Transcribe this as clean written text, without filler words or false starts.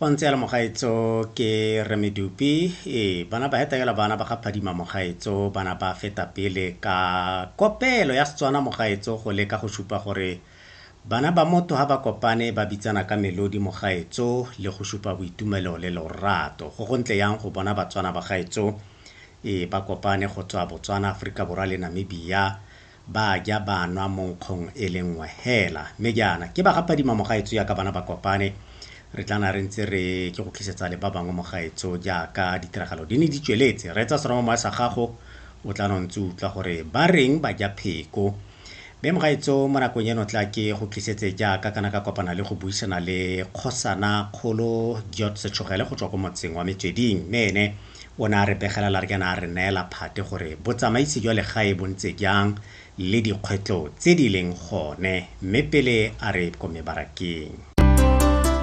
Go ntse jalo mogaetso ke Rre Medupi. Ee, bana ba heta fela bana ba ga Phadima mogaetso, bana ba feta pele ka kopelo ya Setswana mogaetso go leka go supa gore bana ba motho ha ba kopane ba bitsana ka melodi mogaetso le go supa boitumelo le lorato. Go gontle yang go bona Batswana bagaetso ee ba kopane go tswa Botswana, Aforika Borwa le Namibia ba ja ba nwa mo nkgong e le nngwe hela. Mme jaana ke ba ga Phadima mogaetso jaaka bana ba kopane re tla na re ntse re ke go tlisetsa le ba bangwe mogaetso jaaka ditiragalo di ne di tsweletse. Reetsa seromamowa sa gago o tla no ntse utlwa gore ba reng ba ja pheko. Mme mogaetso mo nakong eno tla ke go tlisetse jaaka kana ka kopana le go buisana le kgosana kgolo George Setshogele go tswa ko motseng wa Metsweding. Mme ene o ne a re begela la re kana a re neela phate gore botsamaisi jwa legae bo ntse jang le dikgwetlho tse di leng gone mme pele a re ko mebarakeng.